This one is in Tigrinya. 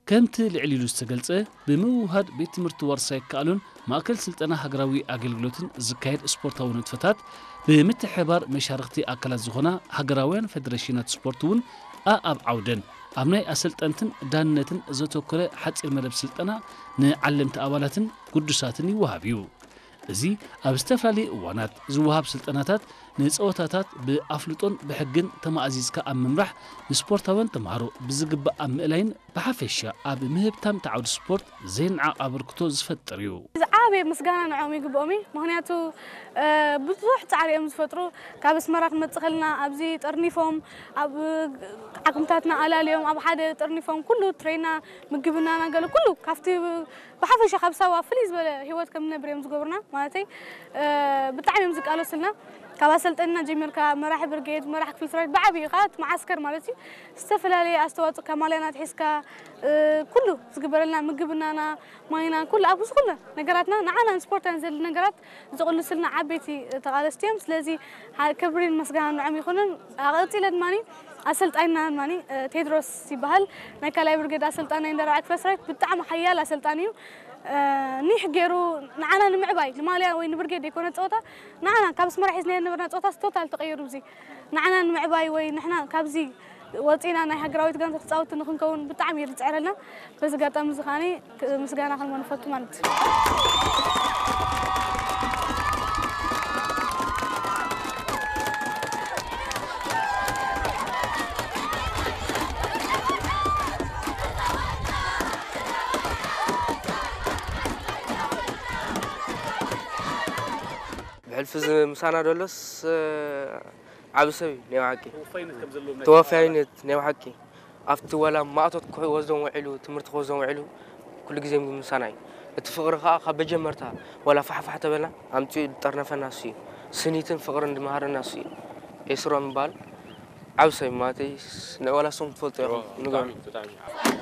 ከምቲ ልዕል ኢሉ ዝተገልጸ፣ ብምውህሃድ ቤት ትምህርቲ ዋርሳይ ይከኣሉን ማእከል ስልጠና ሃገራዊ ኣገልግሎትን ዝካየድ ስፖርታዊ ንጥፈታት፣ ብምትሕብባር መሻርኽቲ ኣካላት ዝኾና ሃገራውያን ፈደረሽናት ስፖርት እውን ኣኣብ ዓውደን ኣብ ናይ ኣሰልጠንትን ዳንነትን ዘተኮረ ሓጺር መደብ ስልጠና ንዓለምቲ ኣባላትን ግዱሳትን ይወሃብ እዩ። እዚ ኣብ ዝተፈላለዩ እዋናት ዝወሃብ ስልጠናታት ንጸወታታት ብኣፍልጦን ብሕግን ተማእዚዝካ ኣብ ምምራሕ፣ ንስፖርታውያን ተምሃሮ ብዝግባእ ኣብ ምእላይን ብሓፈሻ ኣብ ምህብታም እቲ ዓውዲ ስፖርት ዘይነዓቕ ኣበርክቶ ዝፈጥር እዩ። ዝዓበየ ምስጋና ንዕኦም ይግብኦም እዩ። ምኽንያቱ ብዙሕ ፃዕሪ እዮም ዝፈጥሩ። ካብ ኣስመራ ክንመፅእ ከለና ኣብዚ ጠርኒፎም ኣብ ዓቕምታትና ኣላልዮም ኣብ ሓደ ጠርኒፎም ኩሉ ትሬና ምግብና ናገለ ኩሉ ካብቲ ብሓፈሻ ካብ ሳዋ ፍልይ ዝበለ ህይወት ከም ንነብር እዮም ዝገብሩና። ማለተይ ብጣዕሚ እዮም ዝቃለሱልና። ካብ ኣሰልጠንና ጀሚርካ መራሒ ብርጌድ፣ መራሒ ክፍሊ ሰራዊት ብዓብዩ ከዓ እቲ መዓስከር ማለት እዩ። ዝተፈላለየ ኣስተዋፅኦ ካብ ማልያና ኣትሒዝካ ኩሉ ዝግበረልና ምግብናና ማይና ኩሉ ኣብ ዝኩሉ ነገራትና ንዓና ንስፖርታን ዘድሊ ነገራት ዝቕልስልና ዓበይቲ ተቓለስቲ እዮም። ስለዚ ክብሪን መስጋናን ንዕም ይኹንን። ኣቐፂለ ድማ ኣሰልጣይና ድማ ቴድሮስ ይበሃል። ናይ ካልኣይ ብርጌድ ኣሰልጣናይ እንዳራብዓይ ክፍለ ሰራዊት ብጣዕሚ ሓያል ኣሰልጣኒ እዩ። ኒሕ ገይሩ ንዓና ንምዕባይ ንማልያ ወይ ንብርጌድ ዘይኮነ ፀወታ ንዓና ካብ ኣስመራ ሒዝናዮ ዝነበርና ፀወታስ ቶታል ተቐይሩ። እዚ ንዓና ንምዕባይ ወይ ንሕና ካብዚ ወፂና ናይ ሃገራዊት ጋንታ ተፃወቲ ንክንከውን ብጣዕሚ እዩ ዝፅዕረልና። በዚ ኣጋጣሚ እዚ ከዓኒ ምስጋና ክንቦ ንፈቱ ማለት እዩ። ብሕልፊ እዚ ምሳና ደሎስ ዓቢ ሰብ እዩ ናይ ብሓቂ። ተወፋይነት ናይ ብሓቂ ኣብቲ ዋላ ማእቶት ክወስዶም ውዒሉ ትምህርቲ ክወስዶም ውዒሉ ኩሉ ግዜ ምሳና እዩ። እቲ ፍቕሪ ከዓ ካብ መጀመርታ ዋላ ፋሕፋሕ ተበልና ኣምፂኡ ዝጠርነፈና እሱ እዩ። ስኒትን ፍቕርን ዝመሃረና እሱ እዩ። ኤስሮም ይበሃል። ዓቢ ሰብ እዩ ማለተይ። ዋላ እሶም ትፈልጡ ኢኹም ንገሩ።